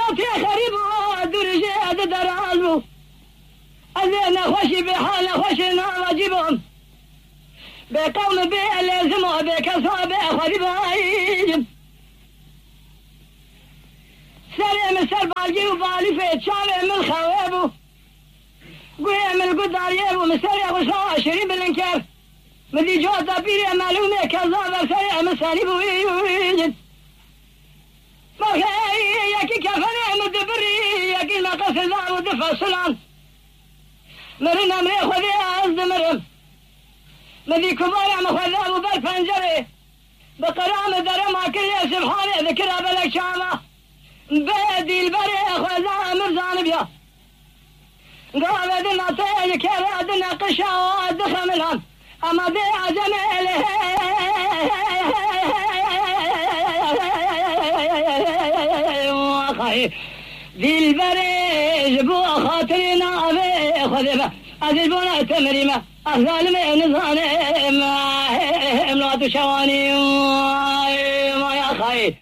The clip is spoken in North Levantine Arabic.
صوتي خريب ودرجة درازو أذينا خوشي بحالنا خوشنا واجبهم بقوم بلازموا بكسوا بخريب سلام سربالجي وبالي في تشامي من خوابو قوي من قدار يابو مسرع وشوا شريب الانكار مدي جوزة بيري معلومة كذابة سريع مساني بويجد مخي ياكي كفني مدبري ياكي ناقص الزعم ودفع السلام مرنا مري خذي أزد مرم مدي كبار مخذاب وبالفنجري بقرام درما كل سبحانه ذكرها بلك شامة بادي البري خذا مرزان بيا قابدنا طيل كرادنا قشا ودخل منهم أما دي عجمله وخي ذي البريج بو خاطرنا خذبه أذبنا تمريمة الظالمين ظالم امرأة شواني ما يا خي